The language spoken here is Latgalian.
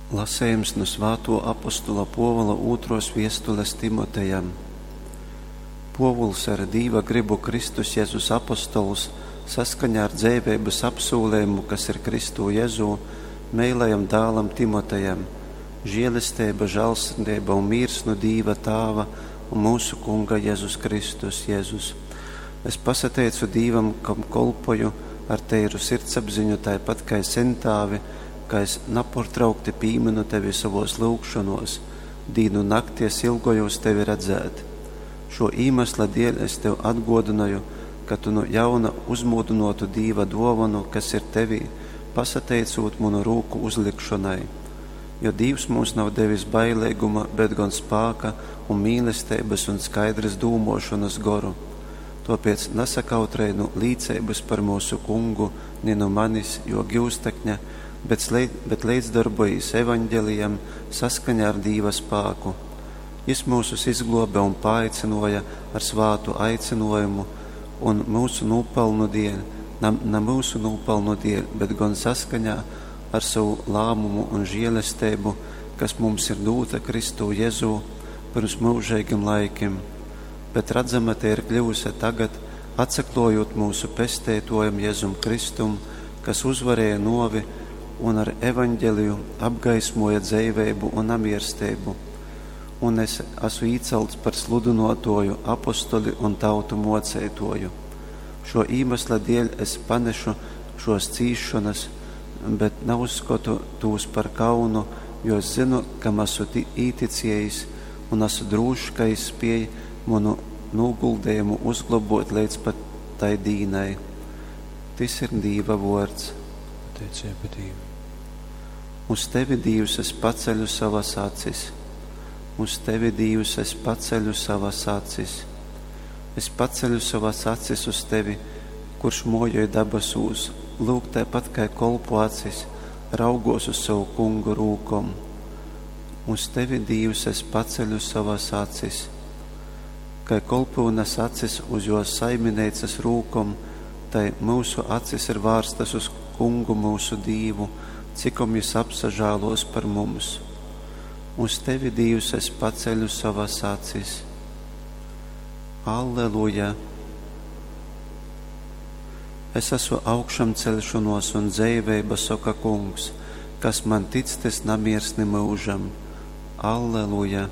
Lasejums nu svātuo apostola Puovula ūtruos viestules Timotejam. Puovuls ar Dīva grybu Kristus Jezus apostols, saskaņā ar dzeiveibys apsūlejumu, kas ir Kristū Jezū, meilajam dālam Timotejam, žielesteiba, žālsirdeiba un mīrs nu Dīva Tāva un myusu Kunga Jezus Kristus Jezus. Es pasateicu Dīvam, kam kolpoju ar teiru sirdsapziņu, taipat kai sentāvi, ka es naportraukti pīminu tevi sovos lyugšonuos, dīnu nakti es ilgojūs tevi redzēt. Šuo īmesla dieļ es tev atguodynoju, ka tu nu jauna uzmūdynuotu Dīva duovonu, kas ir tevī, pasateicūt munu rūku uzlikšonai. Jo Dīvs mums nav devis baileiguma, bet gon spāka un mīlesteibys un skaidrys dūmuošonys goru. Tuopiec nasakautrej nu līceibys par myusu Kungu, ni nu manis, juo giustekņa, bet, bet leidzdorbojīs evaņgelijam saskaņā ar Dīva spāku. Jis myusus izgluobe un paaicynuoja ar svātu aicynuojumu un myusu nūpalnu dieļ, na, na myusu nūpalnu dieļ, bet gon saskaņā ar sovu lāmumu un žielesteibu, kas mums ir dūta Kristū Jezū pyrms myužeigim laikim, bet radzama tei ir kļuvuse tagad, atsakluojūt myusu Pesteituojam Jezum Kristum, kas uzvarēja nuovi un ar evaņgeliju apgaismoja dzeiveibu un namiersteibu. Un es esmu īcelts par sludynuotuoju, apostoli un tautu muoceituoju. Šuo īmesla dieļ es panešu šuos cīsšonys, bet nauzskotu tūs par kaunu, jo es zynu, kam asu īticiejis, un asu drūšs, ka jis spiej munu nūguldejumu uzglobuot leidz pat tai dīnai. Tys ir Dīva vuords. Pateiceiba Dīvam. Uz tevi, Dīvs, es paceļu sovas acis. Uz tevi, Dīvs, es paceļu sovas acis. Es paceļu sovas acis uz tevi, kurš muojoj dabasūs, lūk, taipat kai kolpu acis, raugos uz sovu kungu rūkom. Uz tevi, Dīvs, es paceļu sovas acis. Kai kolpyunes acis uz juos saimineicys rūkom, tai myusu acis ir vārstas uz Kungu myusu Dīvu, cikom jis apsažāluos par mums. Uz tevi, Dīvs, es paceļu sovas acis. Alleluja! Es esmu augšamceļšonuos un dzeiveiba, soka Kungs, kas man tic, tys namiers ni myužam. Alleluja!